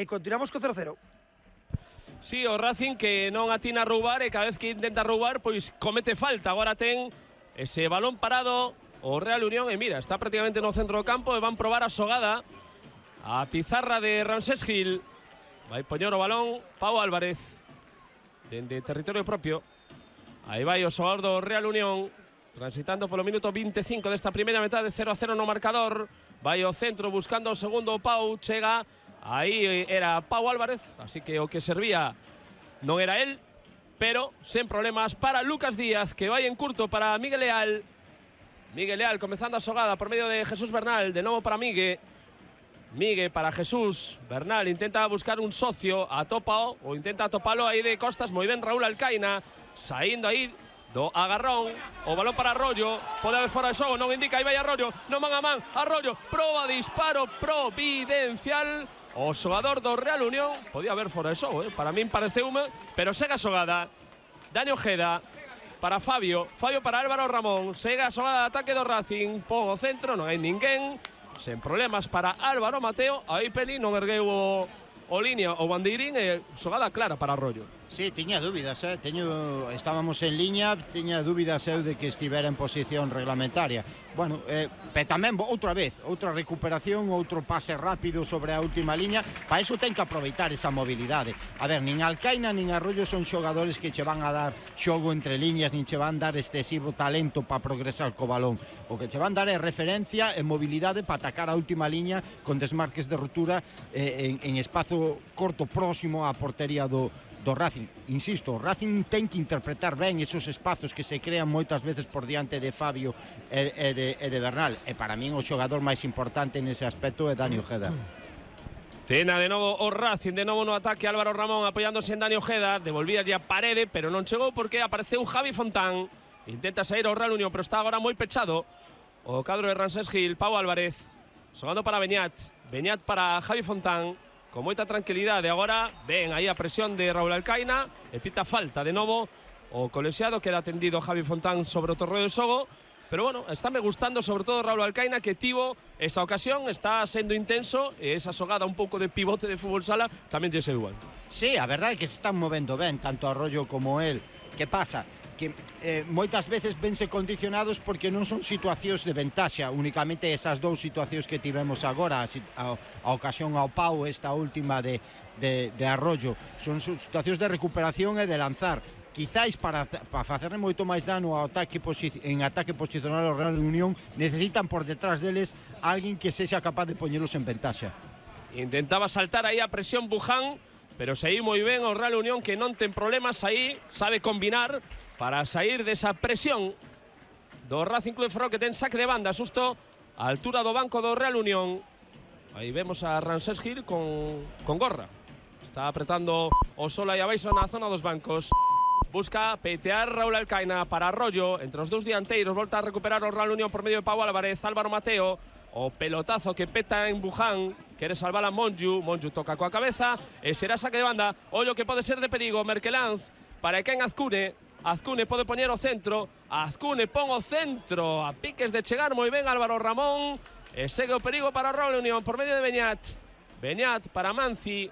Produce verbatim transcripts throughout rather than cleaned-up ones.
e continuamos co cero cero. Sí, o Racing que non atina a roubar e cada vez que intenta roubar pois comete falta. Agora ten ese balón parado o Real Unión e mira, está prácticamente no centro do campo e van probar a xogada. A pizarra de Ramsés Gil. Vai poñer o balón Pau Álvarez dende territorio propio. Aí vai o xogador do Real Unión transitando polo minuto veinticinco desta primeira metade, cero a cero no marcador. Vai ao centro buscando o segundo Pau, chega. Aí era Pau Álvarez, así que o que servía non era él, pero sen problemas para Lucas Díaz, que vai en curto para Miguel Leal. Miguel Leal comezando a xogada por medio de Jesús Bernal, de novo para Migue. Migue para Jesús, Bernal intenta buscar un socio, atopa o intenta atopalo aí de costas, moi ben Raúl Alcaina, saindo aí do agarrón, o balón para Arroyo, pode haber fora de xogo, non indica, aí vai Arroyo, non man a man, Arroyo, proba disparo providencial. O xogador do Real Unión podía haber fora de xogo, eh? Para min pareceume, pero segue a xogada. Dani Ojeda para Fabio, Fabio para Álvaro Ramón, segue a xogada de ataque do Racing, pon o centro, non hai ninguén, sen problemas para Álvaro Mateo. Aí Peli non ergueu o, o línea o bandeirín e xogada clara para Arroyo. Sí, tiña dúbidas, eh? Teño, estábamos en liña, tiña dúbidas eu de que estivera en posición reglamentaria. Bueno, eh, pero tamén, outra vez, outra recuperación, outro pase rápido sobre a última liña. Para iso ten que aproveitar esa mobilidade. A ver, nin Alcaina nin Arroyo son xogadores que che van a dar xogo entre liñas, nin che van dar excesivo talento para progresar co balón. O que che van dar é referencia e mobilidade para atacar a última liña con desmarques de ruptura eh, en, en espazo corto próximo á portería do do Racing. Insisto, o Racing ten que interpretar ben esos espazos que se crean moitas veces por diante de Fabio e, e, de, e de Bernal, e para min o xogador máis importante nese aspecto é Dani Ojeda. Tena de novo o Racing, de novo no ataque Álvaro Ramón apoiándose en Dani Ojeda, devolvía ya Parede, pero non chegou porque apareceu Javi Fontán, intenta sair ao Real Unión, pero está agora moi pechado o cadro de Ramsés Gil. Pau Álvarez, xogando para Beñat, Beñat para Javi Fontán, con moita tranquilidade. Agora ven aí a presión de Raúl Alcaina e pita falta de novo o colexiado, queda atendido Javi Fontán sobre o torreo de xogo, pero bueno, está me gustando sobre todo Raúl Alcaina, que tivo esa ocasión, está sendo intenso e esa xogada un pouco de pivote de fútbol sala tamén lle sei igual. Sí, a verdade é que se están movendo ben tanto Arroyo como él. Que pasa? Que eh, moitas veces vense condicionados porque non son situacións de ventaxa, únicamente esas dous situacións que tivemos agora, a, a, a ocasión ao Pau, esta última de, de, de Arroyo, son situacións de recuperación e de lanzar. Quizáis para, para facerle moito máis dano ao ataque en ataque posicional ao Real Unión necesitan por detrás deles alguén que sexa capaz de poñelos en ventaxa. Intentaba saltar aí a presión Buján, pero saí moi ben o Real Unión, que non ten problemas aí, sabe combinar para sair desa presión do Racing Club de Ferrol, que ten saque de banda, susto a altura do banco do Real Unión. Aí vemos a Ramsés Gil con, con gorra, está apretando o solo aí abaixo na zona dos bancos. Busca peitear Raúl Alcaina para Arroyo, entre os dous dianteiros, volta a recuperar o Real Unión por medio de Pau Álvarez. Álvaro Mateo, o pelotazo que peta en Buján, quere salvar a Monju, Monju toca coa cabeza e será saque de banda. Ollo que pode ser de perigo, Merkelanz para Ken Azcune, Azcune pode poñer o centro, Azcune pon o centro, a piques de chegar moi ben Álvaro Ramón, e segue o perigo para o Real Unión por medio de Beñat, Beñat para Manzi,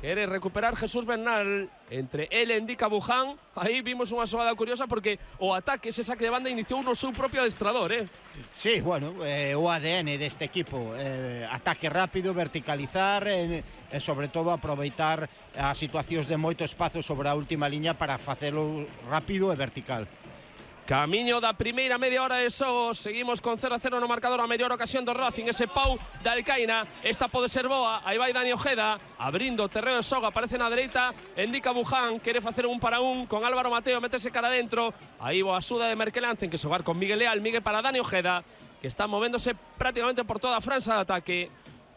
quere recuperar Jesús Bernal, entre ele indica Buján. Aí vimos unha xogada curiosa porque o ataque, ese saque de banda, iniciou no seu propio adestrador, eh? Sí, bueno, eh, o A D N deste equipo, eh, ataque rápido, verticalizar e eh, sobre todo aproveitar as situacións de moito espazo sobre a última liña para facelo rápido e vertical. Camiño da primeira media hora de xogo, seguimos con cero a cero no marcador, a mellor ocasión do Racing, ese Pau da Alcaina, esta pode ser boa, aí vai Dani Ojeda, abrindo o terreo de xogo, aparece na dereita, indica Buján, quere facer un para un con Álvaro Mateo, metese cara dentro, aí boa axuda de Merkelanz, ten que xogar con Miguel Leal, Miguel para Dani Ojeda, que está movéndose prácticamente por toda a franxa de ataque,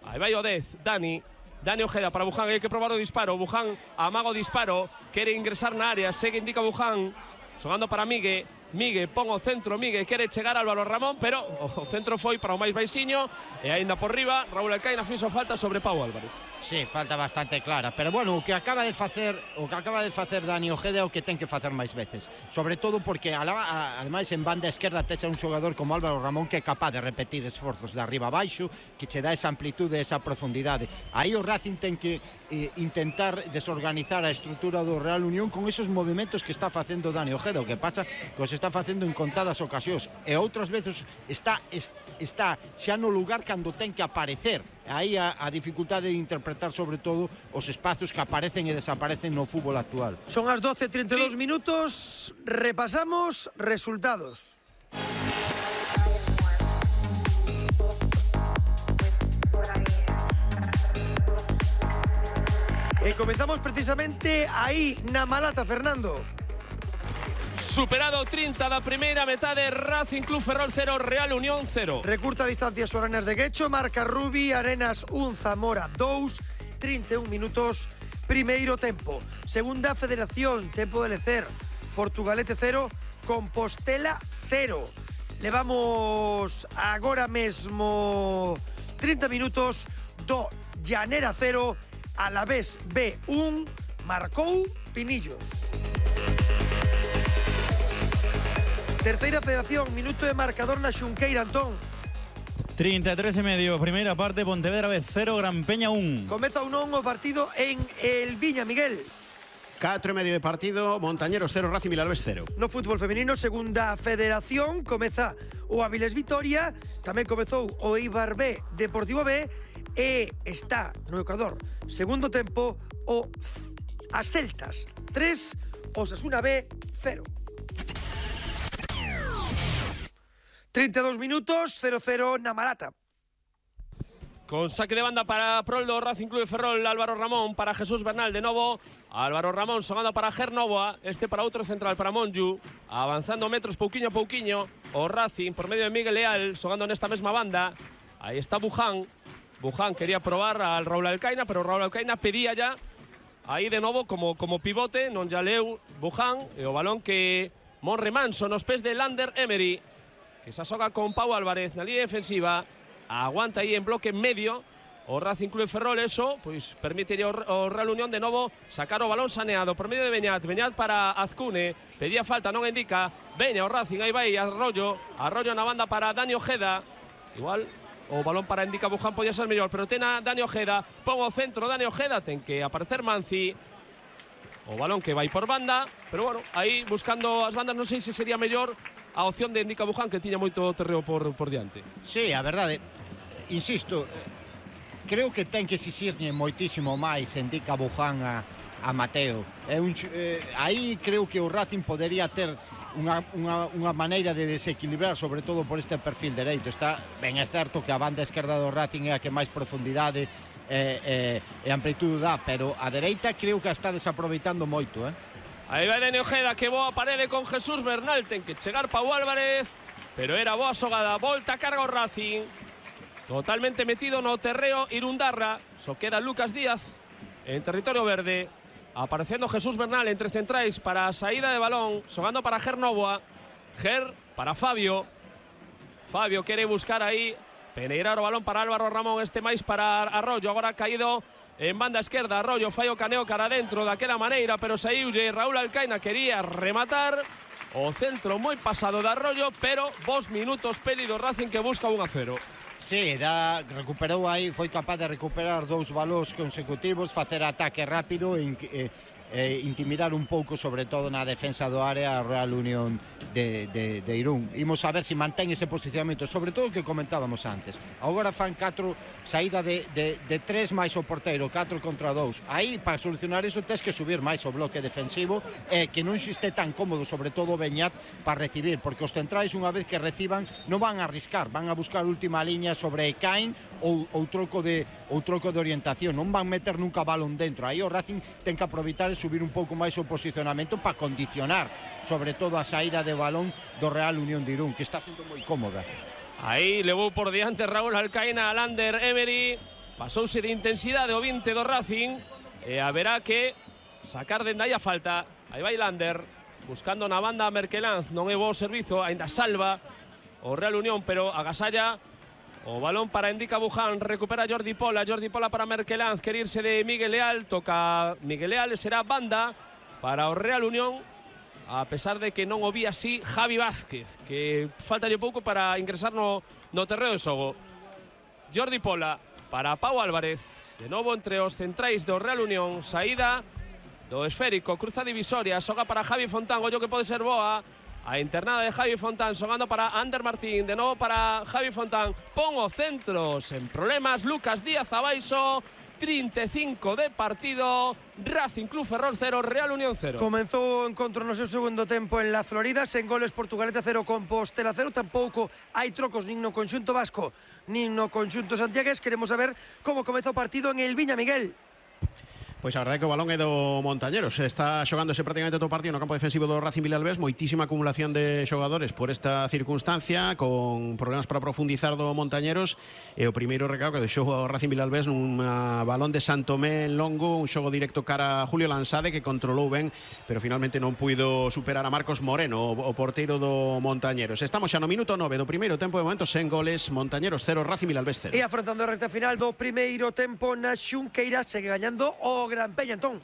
aí vai o dez, Dani, Dani Ojeda para Buján, hai que probar o disparo, Buján amaga o disparo, quere ingresar na área, segue indica Buján, xogando para Miguel, Migue pon o centro, Migue quere chegar Álvaro Ramón, pero o centro foi para o máis baixiño e aínda por riba Raúl Alcaina fixo falta sobre Pau Álvarez. Sí, falta bastante clara, pero bueno, o que acaba de facer, o que acaba de facer Dani Ojeda é o que ten que facer máis veces, sobre todo porque ademais en banda esquerda texa un xogador como Álvaro Ramón que é capaz de repetir esforzos de arriba a baixo, que che dá esa amplitude, esa profundidade. Aí o Racing ten que eh, intentar desorganizar a estrutura do Real Unión con esos movimentos que está facendo Dani Ojeda, o que pasa que os está facendo en contadas ocasións e outras veces está está xa no lugar cando ten que aparecer. Aí a, a dificultade de interpretar sobre todo os espazos que aparecen e desaparecen no fútbol actual. Son as doce e trinta e dous sí. minutos, repasamos resultados. E comenzamos precisamente aí na Malata, Fernando. Superado trinta da primeira metade, Racing Club Ferrol cero, Real Unión cero. Recurta distancias foranas de Guecho, marca Rubi, Arenas un, Zamora dous, trinta e un minutos, primeiro tempo. Segunda Federación, tempo de lecer, Portugalete cero, Compostela cero. Levamos agora mesmo trinta minutos do Llanera cero, Alavés B un, marcou Pinillos. Terceira Federación, minuto de marcador na Xunqueira, Antón. trinta e tres e medio, primeira parte, Pontevedra B cero, Gran Peña un. Comeza un non o partido en El Viña, Miguel. catro e medio de partido, Montañeros cero, Racing Vilalbés cero. No fútbol femenino, segunda Federación, comeza o Avilés Vitoria, tamén comezou o Eibar B, Deportivo B, e está no Ecuador, segundo tempo, o as Celtas tres, Osasuna B cero. trinta e dous minutos, cero cero na Malata. Con saque de banda para prol do Racing Club de Ferrol, Álvaro Ramón para Jesús Bernal de novo. Álvaro Ramón xogando para Ger Novoa, este para outro central para Monju, avanzando metros pouquiño a pouquiño. O Racing por medio de Miguel Leal xogando nesta mesma banda. Aí está Buján. Buján quería probar al Raúl Alcaina, pero Raúl Alcaina pedía ya aí de novo como, como pivote, non ya leu Buján, e o balón que morre manso nos pés de Lander Emery, que se asoga con Pau Álvarez na línea defensiva, aguanta aí en bloque medio o Racing Club de Ferrol. Eso pois permite ao, ao Real Unión de novo sacar o balón saneado por medio de Beñat. Beñat para Azcune, pedía falta, non indica. Veña o Racing, aí vai Arroyo, Arroyo na banda para Dani Ojeda. Igual o balón para indica Buján podía ser mellor, pero ten a Dani Ojeda, pon o centro Dani Ojeda, ten que aparecer Manzi. O balón que vai por banda, pero bueno, aí buscando as bandas, non sei se sería mellor a opción de Indica Buján, que tiña moito terreo por, por diante. Sí, a verdade, insisto, creo que ten que exixirlle moitísimo máis Indica Buján a, a Mateo. É un, eh, aí creo que o Racing podería ter unha, unha, unha maneira de desequilibrar, sobre todo por este perfil dereito. Está ben, é certo que a banda esquerda do Racing é a que máis profundidade e, e, e amplitude dá, pero a dereita creo que a está desaproveitando moito, eh? Aí vai Dani Ojeda, que boa parede con Jesús Bernal, ten que chegar Pau Álvarez, pero era boa xogada, volta a carga o Racing, totalmente metido no terreo Irundarra, só queda Lucas Díaz en territorio verde, aparecendo Jesús Bernal entre centrais para a saída de balón, xogando para Ger Novoa, Ger para Fabio, Fabio quere buscar aí, peneirar o balón para Álvaro Ramón, este máis para Arroyo, agora caído en banda esquerda, Arroyo fai o caneo cara adentro daquela maneira, pero saiulle Raúl Alcaina, quería rematar o centro moi pasado de Arroyo, pero vos minutos pedido Racing que busca un a cero. Sí, da, recuperou aí, foi capaz de recuperar dous balóns consecutivos, facer ataque rápido e eh, eh, intimidar un pouco, sobre todo na defensa do área, a Real Unión de, de, de Irún. Imos a ver se mantén ese posicionamento, sobre todo o que comentábamos antes. Agora fan catro, saída de, de, de tres máis o porteiro, catro contra dous. Aí, para solucionar iso, tens que subir máis o bloque defensivo, e eh, que non xiste tan cómodo, sobre todo Beñat, para recibir, porque os centrais, unha vez que reciban, non van a arriscar, van a buscar última liña sobre Caín ou, ou, troco de, ou troco de orientación, non van meter nunca balón dentro. Aí o Racing ten que aproveitar e subir un pouco máis o posicionamento para condicionar, sobre todo a saída de balón do Real Unión de Irún, que está sendo moi cómoda. Aí levou por diante Raúl Alcaina a Lander Emery, pasouse de intensidade o vinte do Racing, e haberá que sacar dende aí a falta. Aí vai Lander, buscando na banda Merkelanz, non é bo servizo, aínda salva o Real Unión, pero agasalla o balón para Indica Buján, recupera Jordi Pola, Jordi Pola para Merkelanz, quere irse de Miguel Leal, toca Miguel Leal, será banda para o Real Unión, a pesar de que non o vi así Javi Vázquez, que falta lle pouco para ingresar no, no terreo de xogo. Jordi Pola para Pau Álvarez, de novo entre os centrais do Real Unión, saída do esférico, cruza divisoria, xoga para Javi Fontán, ollo que pode ser boa, a internada de Javi Fontán, xogando para Ander Martín, de novo para Javi Fontán, pon o centro sen problemas, Lucas Díaz abaixo, trinta e cinco de partido, Racing Club Ferrol cero, Real Unión cero. Comenzou o encontro no seu segundo tempo en la Florida, sen goles, Portugalete cero, Compostela cero, tampouco hai trocos nin no conxunto vasco, nin no conxunto santiagués. Queremos saber como comeza o partido en el Viña, Miguel. Pois a verdade é que o balón é do Montañeros. Está xogándose prácticamente todo o partido no campo defensivo do Racing Vilalbés. Moitísima acumulación de xogadores por esta circunstancia, con problemas para profundizar do Montañeros. E o primeiro recado que deixou o Racing Vilalbés nun balón de Santomé en longo, un xogo directo cara a Julio Lansade, que controlou ben, pero finalmente non puido superar a Marcos Moreno, o porteiro do Montañeros. Estamos xa no minuto nove do primeiro tempo, de momento sen goles, Montañeros cero, Racing Vilalbés cero. E afrontando a recta final do primeiro tempo na Xunqueira, segue gañando o Gran Peña, Antón.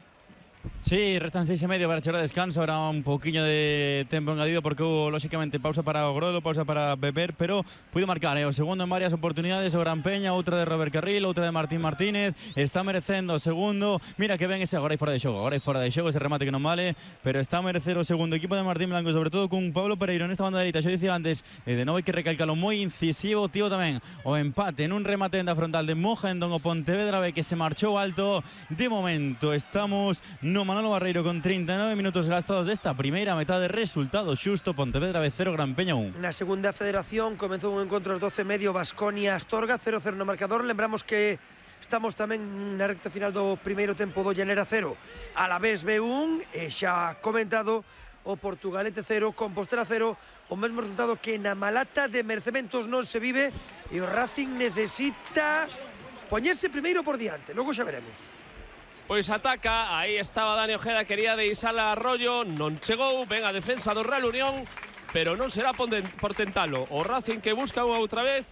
Sí, restan seis y medio para echar a descanso. Ahora un poquillo de tiempo añadido porque hubo, lógicamente, pausa para Grolo, pausa para beber, pero pudo marcar, ¿eh? O segundo en varias oportunidades, o Gran Peña, outra de Robert Carril, outra de Martín Martínez. Está merecendo o segundo. Mira que ven ese agora aí fora de xogo, agora aí fora de xogo, ese remate que non vale, pero está a merecer o segundo equipo de Martín Blanco, sobre todo con Pablo Pereiro nesta banda dereita. Yo dicía antes, eh, de novo hai que recalcalo, moi incisivo, tío, tamén o empate en un remate en da frontal de Mojendon o Pontevedra B, que se marchou alto. De momento estamos no Manolo Barreiro con treinta e nove minutos gastados desta primeira metade. Resultado xusto, Pontevedra B cero, Gran Peña un. Na segunda federación comezou un encontro ás doce e medio, Baskonia Astorga cero cero no marcador. Lembramos que estamos tamén na recta final do primeiro tempo do Llanera cero, Alavés B un, e xa comentado o Portugalete cero, Compostela cero, o mesmo resultado que na Malata de Mercementos non se vive, e o Racing necesita poñerse primeiro por diante, logo xa veremos. Pois ataca, aí estaba Dani Ojeda, quería deixala a Arroyo, non chegou, ven a defensa do Real Unión, pero non será por tentalo. O Racing que busca unha outra vez,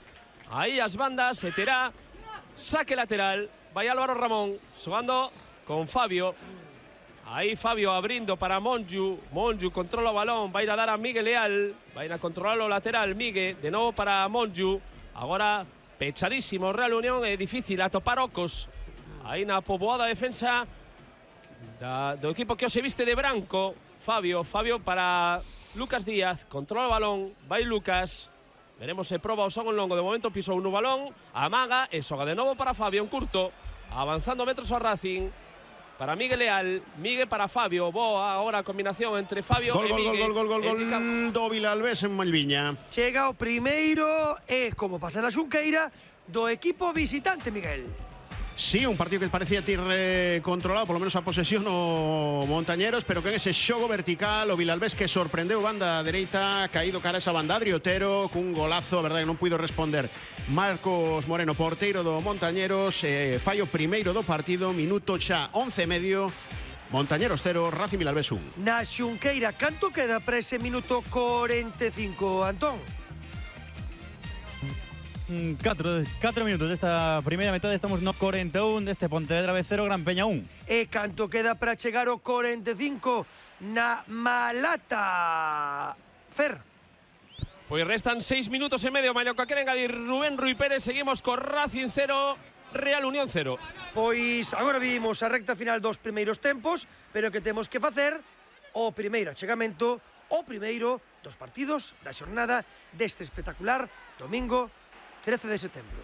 aí as bandas, e terá saque lateral, vai Álvaro Ramón, xogando con Fabio, aí Fabio abrindo para Monju, Monju controla o balón, vai a dar a Miguel Leal, vai a controlar o lateral, Miguel, de novo para Monju, agora pechadísimo o Real Unión, é difícil atopar ocos, aí na poboada defensa da, do equipo que se viste de branco. Fabio, Fabio para Lucas Díaz, controla o balón, vai Lucas, veremos se proba o son en longo, de momento pisou no balón, amaga e xoga de novo para Fabio, en curto, avanzando metros ao Racing, para Miguel Leal, Miguel para Fabio, boa agora a combinación entre Fabio gol, e gol, Miguel. Gol, gol, gol, gol, gol do Vilalbés en Malviña. Chega o primeiro e, como pasa na Xunqueira, do equipo visitante, Miguel. Sí, un partido que parecía ter eh, controlado, polo menos a posesión o Montañeros, pero que en ese xogo vertical o Vilalbés que sorprendeu banda dereita, caído cara a esa banda, Adri Otero cun golazo, a verdade que non puido responder Marcos Moreno, porteiro do Montañeros, eh, fallo primeiro do partido, minuto xa once e medio, Montañeros cero, Racing Vilalbés un. Na Xunqueira, canto queda para ese minuto cuarenta e cinco, Antón? cuatro minutos desta primeira metade, estamos no cuarenta e un deste Pontevedra B cero, Gran Peña un. E canto queda para chegar ao cuarenta e cinco na Malata, Fer? Pois restan seis minutos e medio, Malloca, queren engadir Rubén Rui Pérez, seguimos con Racing cero, Real Unión cero. Pois agora vimos a recta final dos primeiros tempos, pero que temos que facer o primeiro achegamento, o primeiro dos partidos da xornada deste espectacular domingo trece de setembro.